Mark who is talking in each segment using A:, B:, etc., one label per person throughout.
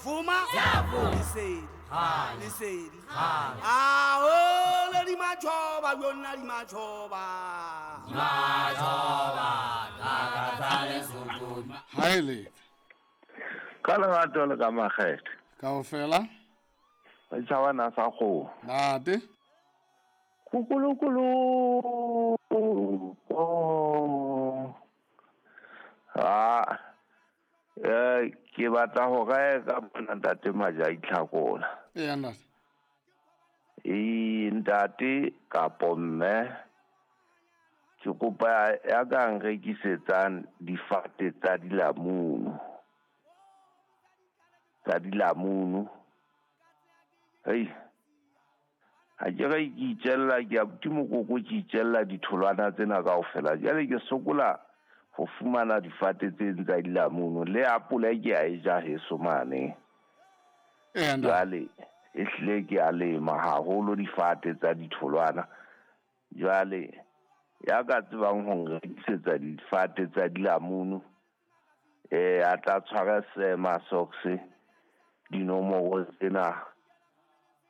A: Vuma vuma lesedi lesedi ao le di majoba yona di majoba.
B: Ha e letsa.
C: Ka lerato le ka makgethe.
B: Kaofela.
C: Re tšhabana sa kgomo.
B: Nate.
C: Kukulukulu. Ah. Ke batla ho reka mona ntate Majai Tlhakola.
B: Eya ntate.
C: Ee ntate kapo mme ke kopa ya ka nrekisetsang difate tsa dilamunu. Tsa dilamunu. Hei. Ha ke re ke itjella ke abuti mokoko ke itjella ditholwana tsena kaofela. Jwale ke sokola ho fumana difate tse tsa dilamunu le apole ke a e ja heso mane. Jwale e hlile ke a lema haholo difate tsa ditholwana. Jwale ya ka tsebang ho nrekisetsa difate tsa dilamunu a tla tshwara Sema Socks dinomoro tsena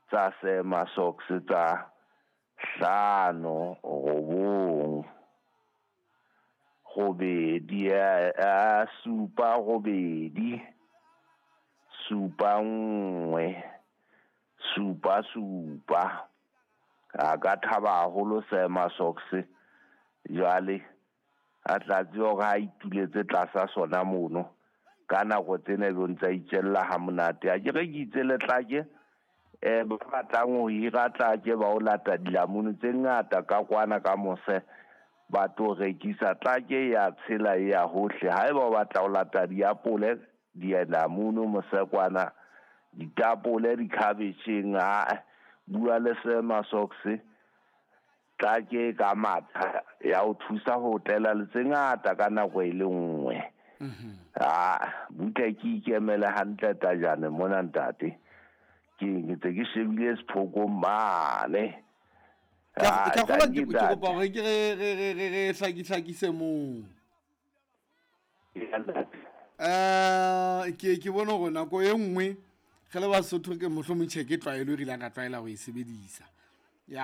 C: tsa Sema Socks tsa 5 9 8 7 8 7 1 7 7. A ka thaba haholo Sema Socks. Jwale a tla tseba hore ha ituletse tlasa sona mono ka nako tsena ebe o ntsa itjella ha monate. Ha ke re ke itse le tlake ba batlang ho hira tlake ba o lata dilamunu tse ngata ka kwana ka mose ba tlo rekisa. Tlake ya tshela ya hohle. Haeba o batla ho lata diapole dilamunu mose kwana ditapole dikhabetjheng a bua le Sema Socks. Tlake ka matha ya o thusa ho tlela le tse ngata ka nako e le nngwe. Butle ke ikemele hantle tajane mona ntate. Ke ntse ke shebile sephoko mane.
B: Ka kgola ke kopa hore ke re hlakise moo. Ke bona hore nako e nngwe re le Basotho ke mohlomong tjhe ke tlwaelo e re ileng ra tlwaela ho e sebedisa.